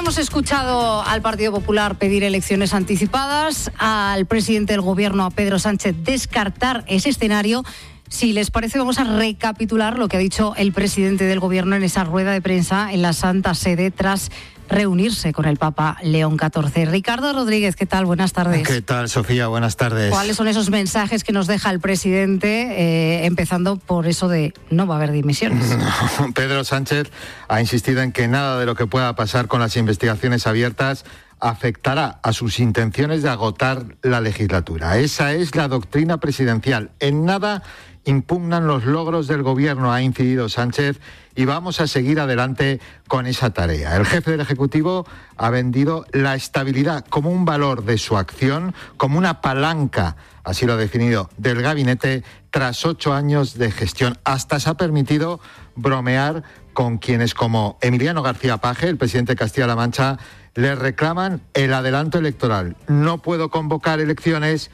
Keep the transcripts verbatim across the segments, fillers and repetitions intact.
hemos escuchado al Partido Popular pedir elecciones anticipadas, al presidente del Gobierno, a Pedro Sánchez, descartar ese escenario. Si les parece, vamos a recapitular lo que ha dicho el presidente del Gobierno en esa rueda de prensa en la Santa Sede tras reunirse con el Papa León catorce. Ricardo Rodríguez, ¿qué tal? Buenas tardes. ¿Qué tal, Sofía? Buenas tardes. ¿Cuáles son esos mensajes que nos deja el presidente, eh, empezando por eso de no va a haber dimisiones? No, Pedro Sánchez ha insistido en que nada de lo que pueda pasar con las investigaciones abiertas afectará a sus intenciones de agotar la legislatura. Esa es la doctrina presidencial. En nada impugnan los logros del Gobierno, ha incidido Sánchez, y vamos a seguir adelante con esa tarea. El jefe del Ejecutivo ha vendido la estabilidad como un valor de su acción, como una palanca, así lo ha definido, del gabinete tras ocho años de gestión. Hasta se ha permitido bromear con quienes, como Emiliano García Paje, el presidente de Castilla-La Mancha, le reclaman el adelanto electoral. No puedo convocar elecciones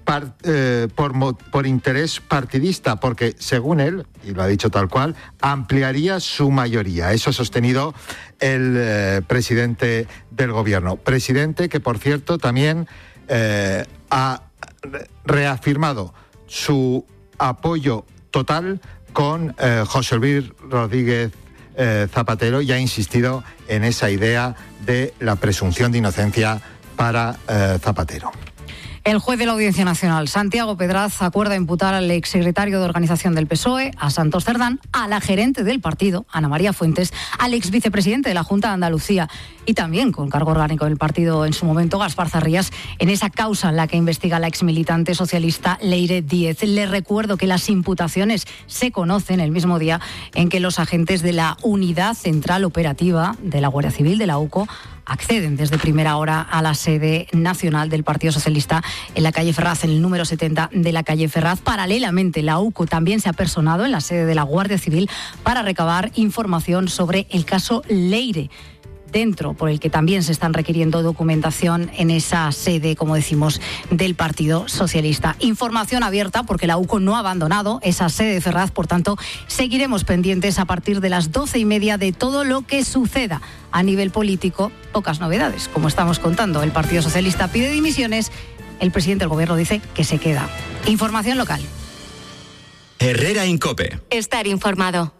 Par, eh, por, por interés partidista, porque según él, y lo ha dicho tal cual, ampliaría su mayoría. Eso ha sostenido el eh, presidente del Gobierno. Presidente que, por cierto, también eh, ha reafirmado su apoyo total con eh, José Luis Rodríguez eh, Zapatero y ha insistido en esa idea de la presunción de inocencia para eh, Zapatero. El juez de la Audiencia Nacional, Santiago Pedraz, acuerda imputar al exsecretario de Organización del P S O E, a Santos Cerdán, a la gerente del partido, Ana María Fuentes, al exvicepresidente de la Junta de Andalucía y también con cargo orgánico del partido en su momento, Gaspar Zarrías, en esa causa en la que investiga la exmilitante socialista Leire Díez. Le recuerdo que las imputaciones se conocen el mismo día en que los agentes de la Unidad Central Operativa de la Guardia Civil de la U C O acceden desde primera hora a la sede nacional del Partido Socialista en la calle Ferraz, en el número setenta de la calle Ferraz. Paralelamente, la U C O también se ha personado en la sede de la Guardia Civil para recabar información sobre el caso Leire, dentro por el que también se están requiriendo documentación en esa sede, como decimos, del Partido Socialista. Información abierta porque la U C O no ha abandonado esa sede de Ferraz, por tanto, seguiremos pendientes a partir de las doce y media de todo lo que suceda a nivel político. Pocas novedades, como estamos contando. El Partido Socialista pide dimisiones, el presidente del Gobierno dice que se queda. Información local. Herrera Incope. Estar informado.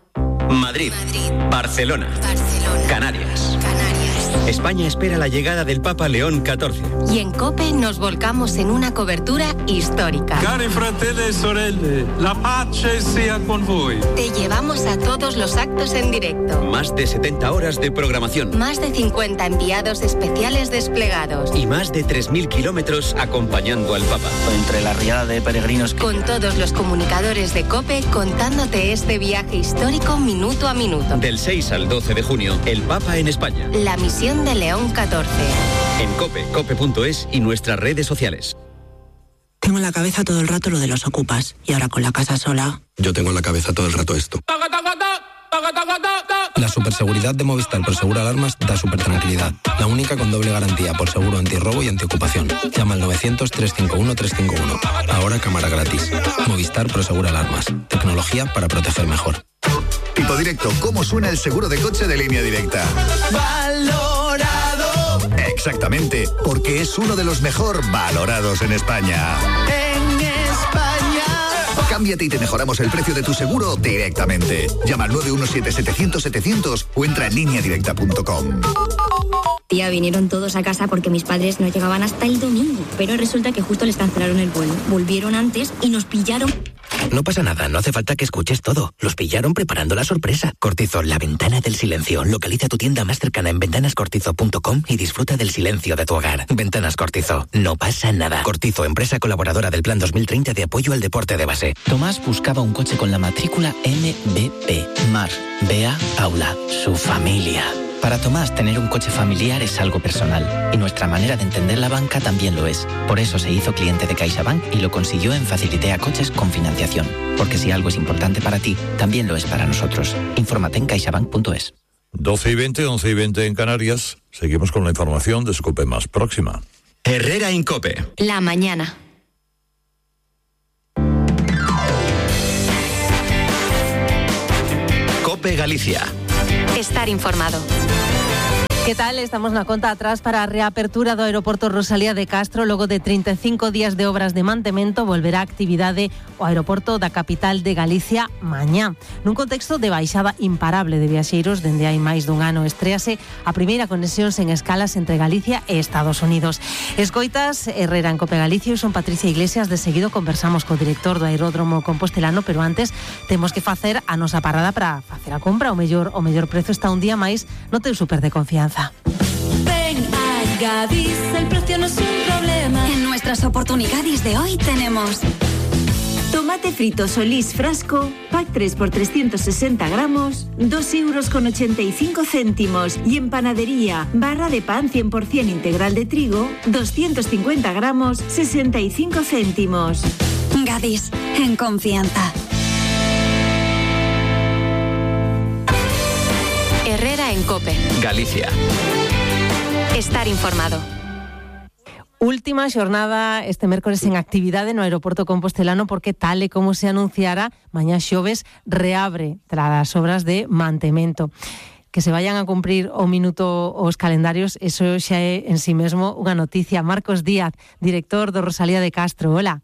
Madrid, Madrid. Barcelona, Barcelona. Canarias. Canarias. España espera la llegada del Papa León catorce. Y en COPE nos volcamos en una cobertura histórica. Cari fratelli e sorelle, la pace sia con voi. Te llevamos a todos los actos en directo. Más de setenta horas de programación. Más de cincuenta enviados especiales desplegados. Y más de tres mil kilómetros acompañando al Papa. Entre la riada de peregrinos. Con todos los comunicadores de COPE contándote este viaje histórico minuto a minuto. Del seis al doce de junio, el Papa en España. La misión de León catorce. En COPE, cope punto es y nuestras redes sociales. Tengo en la cabeza todo el rato lo de los ocupas y ahora con la casa sola. Yo tengo en la cabeza todo el rato esto. La superseguridad de Movistar Prosegura Alarmas da super tranquilidad. La única con doble garantía por seguro antirrobo y antiocupación. Llama al novecientos, trescientos cincuenta y uno, trescientos cincuenta y uno. Ahora cámara gratis. Movistar Prosegura Alarmas. Tecnología para proteger mejor. Tipo Directo, ¿cómo suena el seguro de coche de Línea Directa? Valorado. Exactamente, porque es uno de los mejor valorados en España. En España. Cámbiate y te mejoramos el precio de tu seguro directamente. Llama al nueve uno siete, setecientos, setecientos o entra en línea directa punto com. Tía, vinieron todos a casa porque mis padres no llegaban hasta el domingo, pero resulta que justo les cancelaron el vuelo. Volvieron antes y nos pillaron. No pasa nada, no hace falta que escuches todo. Los pillaron preparando la sorpresa. Cortizo, la ventana del silencio. Localiza tu tienda más cercana en ventanas cortizo punto com y disfruta del silencio de tu hogar. Ventanas Cortizo, no pasa nada. Cortizo, empresa colaboradora del Plan dos mil treinta de apoyo al deporte de base. Tomás buscaba un coche con la matrícula M B P. Mar, Bea, Paula, su familia. Para Tomás, tener un coche familiar es algo personal y nuestra manera de entender la banca también lo es. Por eso se hizo cliente de CaixaBank y lo consiguió en Facilitea Coches con financiación. Porque si algo es importante para ti, también lo es para nosotros. Infórmate en caixabank punto es. doce y veinte, once y veinte en Canarias. Seguimos con la información de Scope más próxima. Herrera Incope. La mañana. Cope Galicia. Estar informado. Que tal? Estamos na conta atrás para a reapertura do aeroporto Rosalía de Castro. Logo de trinta e cinco días de obras de mantemento, volverá a actividade o aeroporto da capital de Galicia mañá. Nun contexto de baixada imparable de viaxeiros, dende hai máis dun ano estréase a primeira conexión sen escalas entre Galicia e Estados Unidos. Escoitas Herrera en Cope Galicia e son Patricia Iglesias. De seguido conversamos co director do aeródromo compostelano, pero antes temos que facer a nosa parada para facer a compra. O mellor, o mellor prezo está un día máis no teu super de confianza. Ven a Gadis, el precio no es un problema. En nuestras oportunidades de hoy tenemos tomate frito Solís frasco, pack tres por trescientos sesenta gramos, dos euros con ochenta y cinco céntimos. Y en panadería, barra de pan cien por ciento integral de trigo, doscientos cincuenta gramos, sesenta y cinco céntimos. Gadis, en confianza. Herrera en Cope. Galicia. Estar informado. Última xornada este mércores en actividade no aeroporto compostelano, porque tal e como se anunciara, mañá xoves reabre tras as obras de mantemento. Que se vayan a cumprir o minuto os calendarios, eso xa é en sí mesmo unha noticia. Marcos Díaz, director do Rosalía de Castro, hola.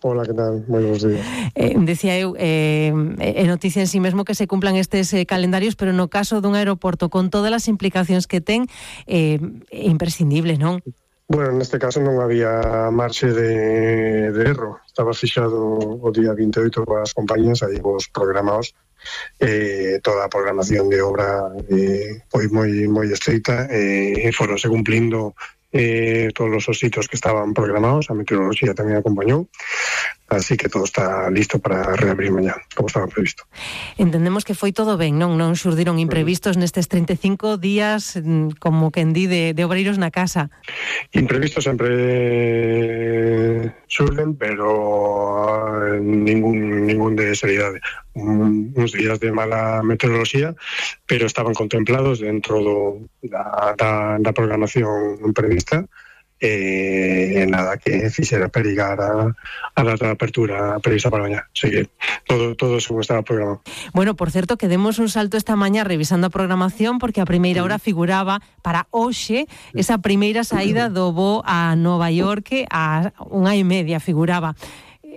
Hola, que tal? Moi bons días. Eh, decía eu, eh, é noticia en sí mesmo que se cumplan estes eh, calendarios, pero no caso dun aeroporto con todas as implicacións que ten, eh, é imprescindible, non? Bueno, neste caso non había marxe de, de erro. Estaba fixado o día vinte e oito coas compañías, aí vos programados. Eh, toda a programación de obra eh, foi moi moi estreita e eh, foronse cumplindo eh, todos os ositos que estaban programados. A meteoroloxía tamén acompañou, así que todo está listo para reabrir mañá, como estaba previsto. Entendemos que foi todo ben, non? Non xurdiron imprevistos nestes trinta e cinco días, como quen di, de, de obreiros na casa. Imprevistos sempre xurden, pero ningún, ningún de seriedade. Un, uns días de mala meteoroloxía, pero estaban contemplados dentro do, da, da, da programación prevista. Eh, nada que fixera perigar a, a data de apertura prevista para mañá. Así que todo, todo según estaba programado. Bueno, por certo, que demos un salto esta mañá revisando a programación, porque a primeira hora figuraba para hoxe esa primeira saída do voo a Nova York a unha e media figuraba.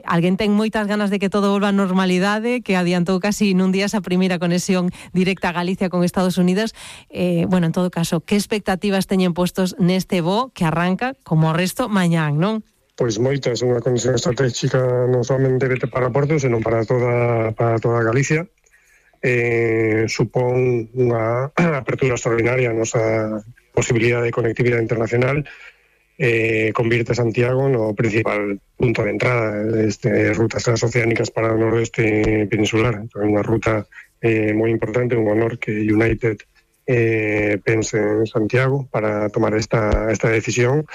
Alguén ten moitas ganas de que todo volva a normalidade, que adiantou casi nun día esa primeira conexión directa a Galicia con Estados Unidos. Eh, bueno, en todo caso, que expectativas teñen postos neste voo que arranca, como o resto, mañán, non? Pois moitas, unha conexión estratégica non somente para Porto, senón para toda, para toda Galicia. Eh, supón unha apertura extraordinaria a nosa posibilidade de conectividade internacional. Eh, convierte Santiago no principal punto de entrada de rutas transoceánicas para o noroeste peninsular. É unha ruta eh, moi importante, un honor que United eh, pense en Santiago para tomar esta, esta decisión.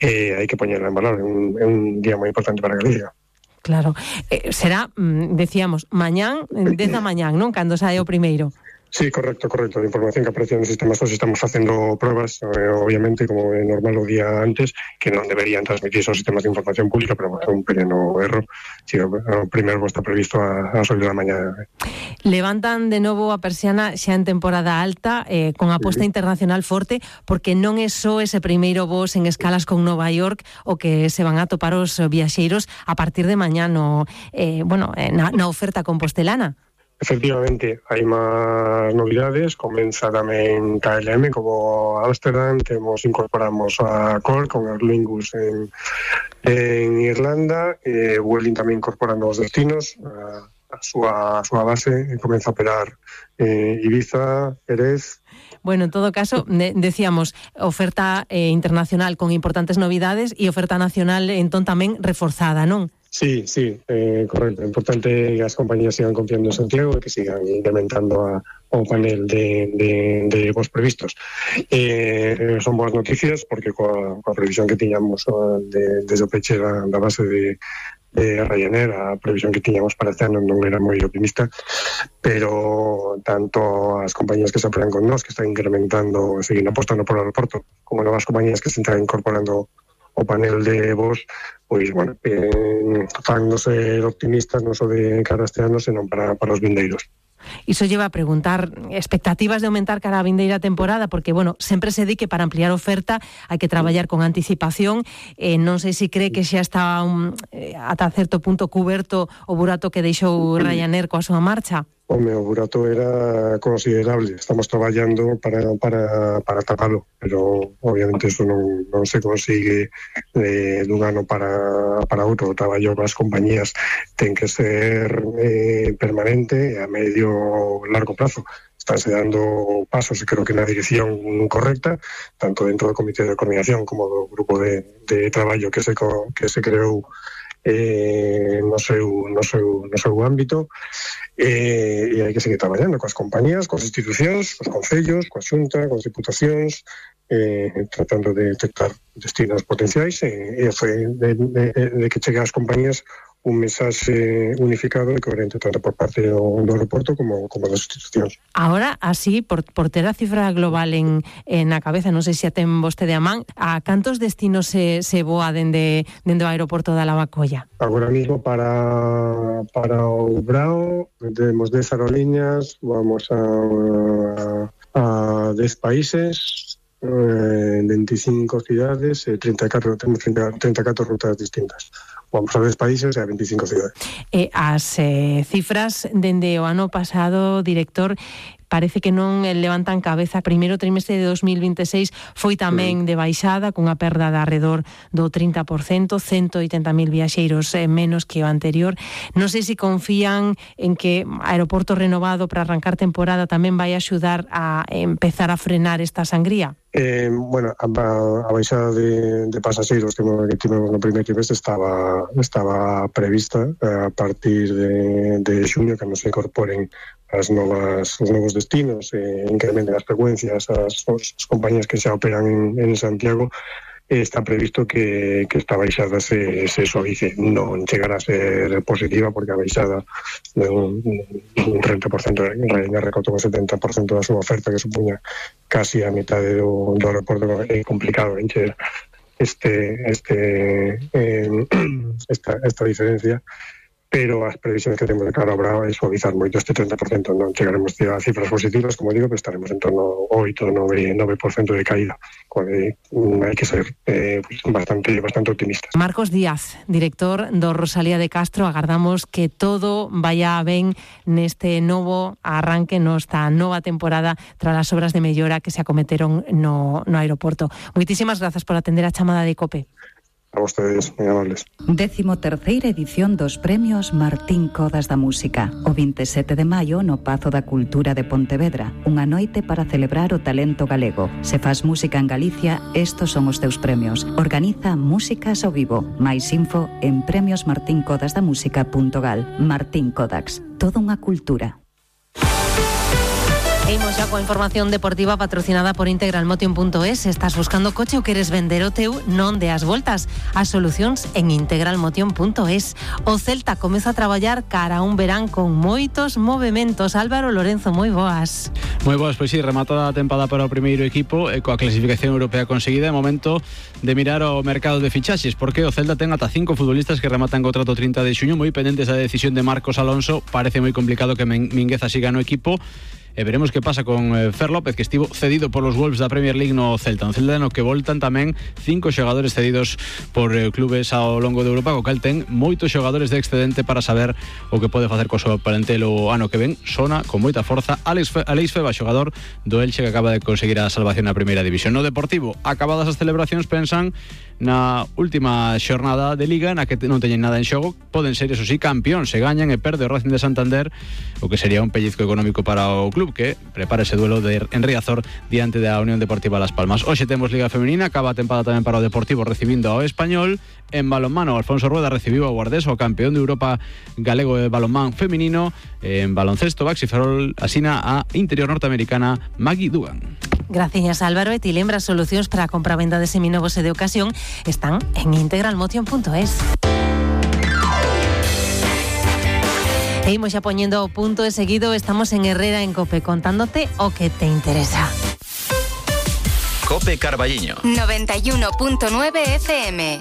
Eh, hai que poñerla en valor, é un, é un día moi importante para Galicia. Claro, eh, será, decíamos, mañán, dez da mañán, non? Cando sae o primeiro. Sí, correcto, correcto. A información que aparece no sistema SOS, estamos facendo pruebas, eh, obviamente, como é normal o día antes, que non deberían transmitir aos sistemas de información pública, pero é un pequeno erro. Si, o, o primeiro está previsto a, a oito da mañá. Levantan de novo a persiana xa en temporada alta, eh, con aposta sí. internacional forte, porque non é só ese primeiro voo en escalas con Nova York o que se van a topar os viaxeiros a partir de mañá no, eh, bueno, na, na oferta compostelana. Efectivamente, hai máis novidades. Comeza tamén K L M como Ámsterdam, temos incorporamos a Cork con Aer Lingus en, en Irlanda, e Vueling tamén incorporando os destinos, a, a, súa, a súa base, e comeza a operar eh, Ibiza, Jerez. Bueno, en todo caso, de, decíamos, oferta eh, internacional con importantes novidades e oferta nacional entón tamén reforzada, non? Sí, sí, eh, correcto. É importante que as compañías sigan confiando en Santiago e que sigan incrementando a, o panel de, de, de voos previstos. Eh, son boas noticias porque coa, coa previsión que tiñamos de, desde o peche da, da base de, de Ryanair, a previsión que tiñamos para este ano non era moi optimista, pero tanto as compañías que se operan con nós, que están incrementando, seguindo apostando por o aeroporto, como novas compañías que se están incorporando o panel de voos, pois, bueno, eh, fan non ser optimistas non só de cara este ano, senón para, para os vindeiros. Iso lleva a preguntar expectativas de aumentar cara a vindeira temporada, porque, bueno, sempre se di que para ampliar oferta hai que traballar con anticipación. Eh, non sei se cree que xa está un, eh, ata certo punto cuberto o burato que deixou Ryanair coa súa marcha. O meu burato era considerable. Estamos traballando para, para, para tapalo, pero obviamente eso non, non se consigue eh, dun ano para, para outro. O traballo das compañías ten que ser eh, permanente a medio largo plazo. Estánse dando pasos e creo que na dirección correcta, tanto dentro do Comité de Coordinación como do grupo de, de traballo que se, que se creou eh, no, seu, no, seu, no seu ámbito, eh, e hai que seguir traballando coas compañías, coas institucións, cos concellos, coa Xunta, coas diputacións, eh, tratando de detectar destinos potenciais e, e foi de, de, de que chegue ás compañías un mensaxe unificado e coherente tanto por parte do, do aeroporto como, como das institucións. Ahora, así, por, por ter a cifra global en, en a cabeza, non sei se a ten vostede a man, a cantos destinos se, se voa dende, dende o aeroporto da Lavacolla? Agora mismo para, para o Brao temos dez aerolíneas, vamos a, a dez países, eh, veinticinco cidades, e treinta e catro, temos treinta e catro rutas distintas. Vamos a dez países e a veinticinco cidades. Eh, as eh, cifras dende o ano pasado, director, parece que non levantan cabeza. Primeiro trimestre de dos mil veintiséis foi tamén de baixada, cunha perda de arredor do trinta por cento, ciento oitenta mil viaxeiros eh, menos que o anterior. Non sei se confían en que aeroporto renovado para arrancar temporada tamén vai axudar a empezar a frenar esta sangría. Eh, bueno, a, a baixada de, de pasaxeiros que tivemos no primeiro trimestre estaba, estaba prevista a partir de, de xuño, que nos incorporen as novas, os novos destinos, e incrementen as frecuencias, as, as compañías que xa operan en, en Santiago. Está previsto que, que esta baixada se, se suavice. Non chegará a ser positiva porque a baixada de un, un treinta por cento Ryanair recortou o setenta por cento da súa oferta, que supuña casi a metade do, do aeroporto. É complicado encher este, este, eh, esta, esta diferencia, pero as previsións que temos de cara ao Brao é suavizar moito este treinta por cento. Non chegaremos a cifras positivas, como digo, pero estaremos en torno ao oito a nove por cento de caída. Hai que ser eh, bastante, bastante optimistas. Marcos Díaz, director do Rosalía de Castro, agardamos que todo vaya ben neste novo arranque, nesta nova temporada tras as obras de mellora que se acometeron no, no aeroporto. Moitísimas grazas por atender a chamada de COPE. A vostedes, moi amables. Décimo terceira edición dos Premios Martín Codas da Música. O veintisiete de maio no Pazo da Cultura de Pontevedra. Unha noite para celebrar o talento galego. Se faz música en Galicia, estos son os teus premios. Organiza Músicas ao Vivo. Mais info en premios martin codas da música punto gal. Martín Codax. Toda unha cultura. Imos xa coa información deportiva patrocinada por integral motion punto es. Estás buscando coche ou queres vender o teu? Non deas voltas. As solucións en integral motion punto es. O Celta comeza a traballar cara a un verán con moitos movementos. Álvaro Lorenzo, moi boas. Moi boas, pois si, rematada a tempada para o primeiro equipo e coa clasificación europea conseguida, é momento de mirar o mercado de fichaxes, porque o Celta ten ata cinco futbolistas que rematan contrato trinta de xuño, moi pendentes da decisión de Marcos Alonso. Parece moi complicado que Mingueza siga no equipo. E veremos que pasa con eh, Fer López, que estivo cedido por los Wolves da Premier League no Celta. Un Celta no que voltan tamén cinco xogadores cedidos por eh, clubes ao longo de Europa, co cal ten moitos xogadores de excedente para saber o que pode facer co seu parentelo ano que ven. Sona con moita forza Alex, Fe, Alex Feba, xogador do Elche, que acaba de conseguir a salvación na primeira división. No Deportivo, acabadas as celebracións, pensan na última xornada de Liga, na que non teñen nada en xogo. Poden ser, eso sí, campeón se gañan e perde o Racing de Santander, o que sería un pellizco económico para o club, que prepara ese duelo de en Riazor diante da Unión Deportiva Las Palmas. Hoxe temos Liga Femenina, acaba a tempada tamén para o Deportivo recibindo ao Español. En balonmano, Alfonso Rueda recibiu ao Guardés, o campeón de Europa galego de balonmán femenino. En baloncesto, Baxi Ferrol asina a interior norteamericana Maggie Dugan. Gracias, Álvaro. E ti lembras, solucións para a compra-venda de seminovos e de ocasión están en integral motion punto es. E imos xa poñendo o punto de seguido. Estamos en Herrera en COPE, contándote o que te interesa. COPE Carballiño noventa y uno punto nueve F M.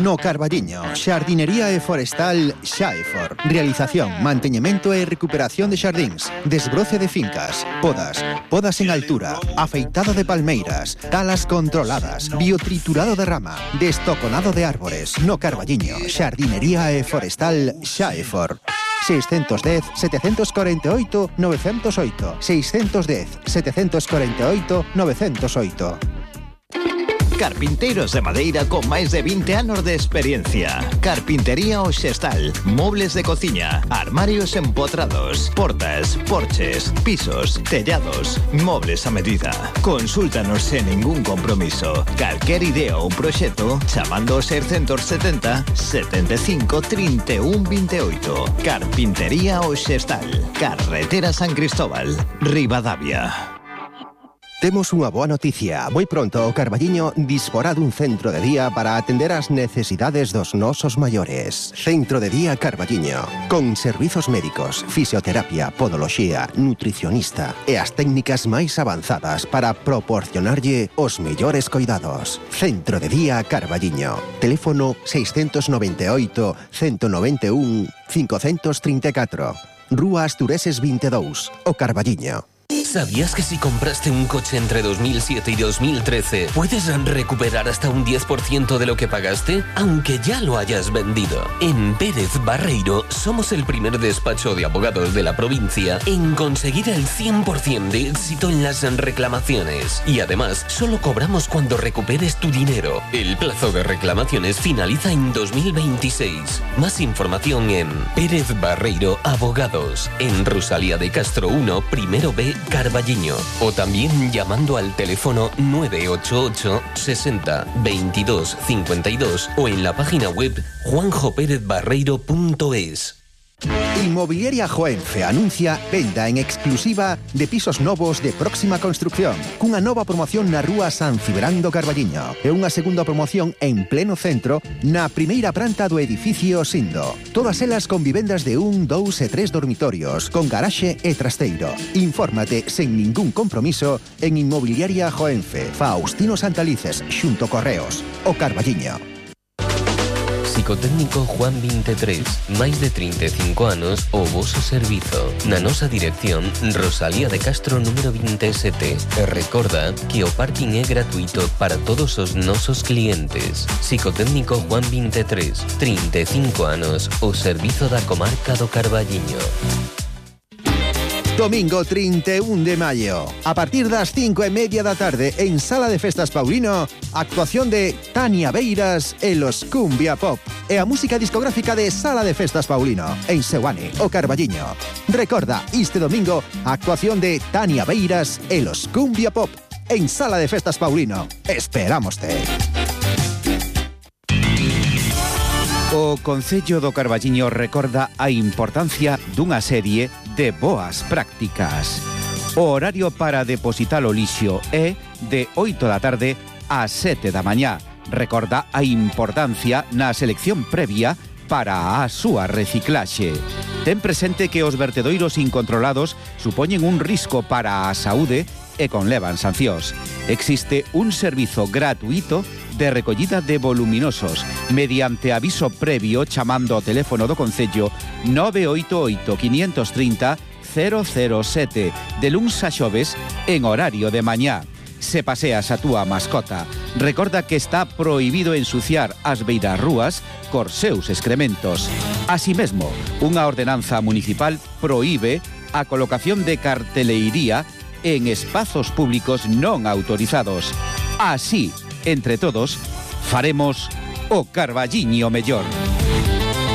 No Carballiño, xardinería e forestal Xaefor. Realización, manteñemento e recuperación de xardíns, desbroce de fincas, podas, podas en altura, afeitado de palmeiras, talas controladas, biotriturado de rama, destoconado de árbores. No Carballiño, xardinería e forestal Xaefor. seiscentos dez, setecientos cuarenta y ocho, novecientos ocho. seiscentos dez, setecientos cuarenta y ocho, novecientos ocho. Carpinteros de madeira con máis de vinte anos de experiencia. Carpintería Oxestal. Mobles de cociña, armarios empotrados, portas, porches, pisos, tellados, mobles a medida. Consúltanos sen ningún compromiso. Calquer idea ou proxecto chamando ao seiscentos setenta, setenta e cinco, trinta e un, vinte e oito. Carpintería Oxestal. Carretera San Cristóbal, Ribadavia. Temos unha boa noticia. Moi pronto o Carballiño disporá dun centro de día para atender as necesidades dos nosos maiores. Centro de día Carballiño, con servizos médicos, fisioterapia, podoloxía, nutricionista e as técnicas máis avanzadas para proporcionarlle os mellores coidados. Centro de día Carballiño. Teléfono seiscentos noventa e oito, ciento noventa e un, quinhentos trinta e catro. Rúa Astureses vinte e dous, o Carballiño. ¿Sabías que si compraste un coche entre dos mil siete y dos mil trece puedes recuperar hasta un diez por ciento de lo que pagaste, aunque ya lo hayas vendido? En Pérez Barreiro somos el primer despacho de abogados de la provincia en conseguir el cien por ciento de éxito en las reclamaciones. Y además, solo cobramos cuando recuperes tu dinero. El plazo de reclamaciones finaliza en dos mil veintiséis. Más información en Pérez Barreiro Abogados, en Rosalía de Castro uno, primero B, Carballiño, o también llamando al teléfono nueve ocho ocho, sesenta, veintidós, cincuenta y dos o en la página web juanjo pérez barreiro punto es. Inmobiliaria Joenfe anuncia venda en exclusiva de pisos novos de próxima construcción, cunha nova promoción na rúa San Cibrán do Carballiño e unha segunda promoción en pleno centro na primeira planta do edificio Sindo. Todas elas con vivendas de un, dous e tres dormitorios, con garaxe e trasteiro. Infórmate sen ningún compromiso en Inmobiliaria Joenfe, Faustino Santalices, xunto Correos, o Carballiño. Psicotécnico Juan veintitrés, máis de trinta e cinco anos o voso servizo. Na nosa dirección, Rosalía de Castro número veintisiete. E recorda que o parking é gratuito para todos os nosos clientes. Psicotécnico Juan veintitrés, trinta e cinco anos o servizo da comarca do Carballiño. Domingo trinta e un de maio, a partir das cinco e media da tarde en Sala de Festas Paulino, actuación de Tania Beiras e los Cumbia Pop e a música discográfica de Sala de Festas Paulino en Seoane, o Carballiño. Recorda, este domingo, actuación de Tania Beiras e los Cumbia Pop en Sala de Festas Paulino. Esperámoste. O Concello do Carballiño recorda a importancia dunha serie de boas prácticas. O horario para depositar o lixo é de oito da tarde a sete da mañá. Recorda a importancia na selección previa para a súa reciclaxe. Ten presente que os vertedoiros incontrolados supoñen un risco para a saúde e conlevan sancións. Existe un servizo gratuito de recollida de voluminosos mediante aviso previo chamando ao teléfono do Concello nove oito oito, cinco tres cero, cero cero sete de luns a xoves en horario de mañá. Se paseas a túa mascota, recorda que está prohibido ensuciar as beirarrúas cos seus excrementos. Así mesmo, unha ordenanza municipal proíbe a colocación de carteleiría en espazos públicos non autorizados. Así, entre todos, faremos o Carballiño mellor.